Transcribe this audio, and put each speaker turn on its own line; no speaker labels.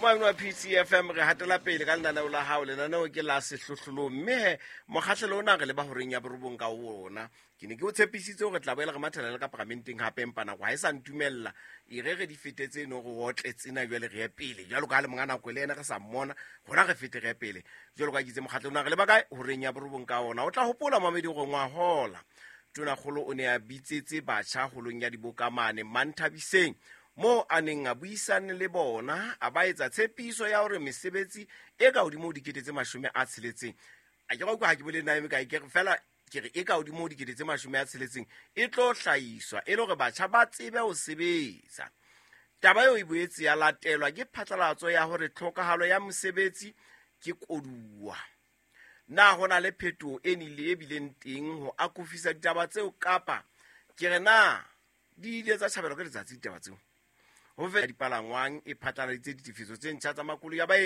Moamino wa PCFM, re hatela pele ka lenaneo la hao. Lenaneo ke la Sehlohlolong, mme he mokgahlelo ona re leba horeng ya borobong ka ona. Ke ne ke o tshepisitse hore tla boela re mathela le ka paramenteng hape, empa nako ha e sa ntumella. E re re di fete tse no re otle tsena, jwale re ye pele. Jwalo ka ha le monga nako le yena re sa mmona, rona re fete re ye pele. Jwalo ka ke itse, mokgahlelo ona re leba kae? Horeng ya borobong ka ona. O tla hopola, mamedi, hore ngwahola Tonakgolo o ne a bitsetse batjha holong ya diboka mane Manthabiseng, moo a neng a buisane le bona, a ba etsa tshepiso ya hore mesebetsi e ka hodimo ho 60 000, a ke utlwa ha ke bolele na e mekae, ke re fela ke re e ka hodimo ho 60 000 e tlo hlahiswa e le hore batjha ba tsebe ho sebetsa. Taba eo e boetse ya latelwa ke phatlalatso ya hore tlhokahalo ya mosebetsi ke koduwa. Na ho na le phetoho e nile e bileng teng ho akofisa ditaba tseo, kapa ke re na di ile tsa tjhabelwa ke letsatsi ditaba tseo? Ho feta dipalangwang e phatlaladitse ditefiso tse ntjha tsa makoloi a baeti.